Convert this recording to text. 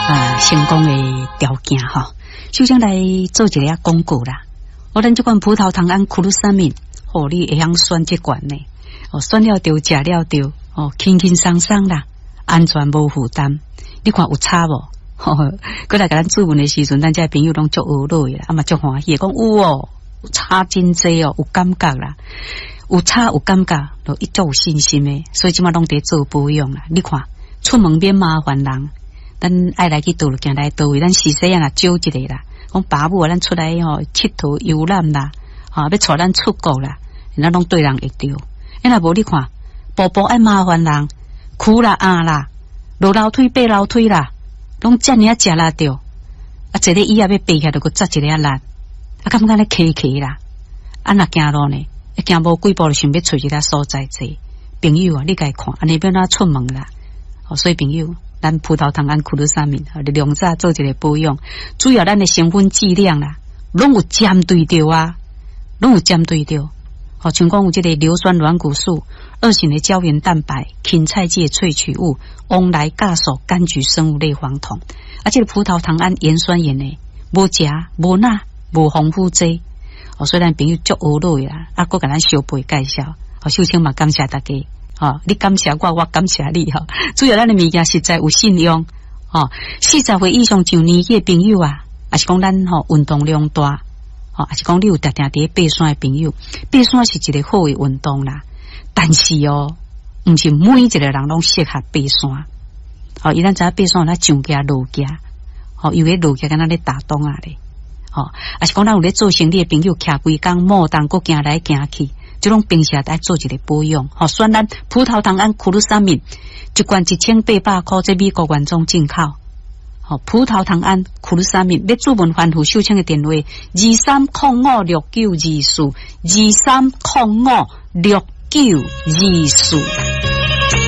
啊成功的條件吼。首先來做一个仔廣告啦。哦，咱這款葡萄糖胺 glucosamine，哦，你會曉選這款呢？哦，選了著，食了著，哦，輕輕鬆鬆啦，安全無負擔。你看有差無？閣來共咱諮詢的時陣，咱這朋友攏足呵樂的啦，啊嘛足歡喜，講有哦，差真濟哦，有感覺啦，有差有感覺，就伊足有信心的，所以這馬攏佇做保養啦。你看，出門免麻煩人，咱愛來去佗就行來佗位，咱時細仔若招一个啦，講爸母啊，咱出來吼𨑨迌遊覽啦，吼欲帶咱出國啦，咱攏對人會著。欸，若無你看，步步愛麻煩人，苦啦啊啦，落樓梯爬樓梯啦，攏遮爾仔食力著，啊，坐咧椅仔欲爬起來，就閣扎一个仔力，啊，感覺咧磕磕啦，啊，若行路呢，一行無幾步就想欲揣一个所在坐。朋友啊，你共伊看，按呢欲按怎出門啦？哦，所以朋友，咱葡萄糖胺 glucosamine，量早做一个保養，主要咱的成分劑量啦，攏有針對著啊，攏有針對著。哦，像講有這个硫酸軟骨素、二型的膠原蛋白、芹菜籽的萃取物、黃來酵素、柑橘生物類黃酮，啊，這个葡萄糖胺鹽酸鹽呢，無鉀、無鈉、無防腐劑。哦，所以咱朋友足呵樂的啦，啊，閣共咱相背介紹，哦，秀清嘛感謝大家，哦，你感謝我，我感謝你，吼。主要咱的物件實在有信用，哦，40歲以上上年紀的朋友啊，抑是講咱吼運動量大。哦，抑是講你有定定佇咧爬山的朋友，爬山是一个好的運動啦。但是哦，毋是每一个人攏適合爬山。哦，伊咱知影爬山咱上行落行，哦，有咧落行敢若咧打樁仔咧。哦，抑是講咱有咧做生理的朋友，徛規工莫動，閣行來行去，這種平時愛做一个保養。吼，選咱葡萄糖胺 glucosamine，一罐1800箍，這美國原裝進口。吼，葡萄糖胺 glucosamine，欲諮詢番予秀清的電話：23056924，23056924。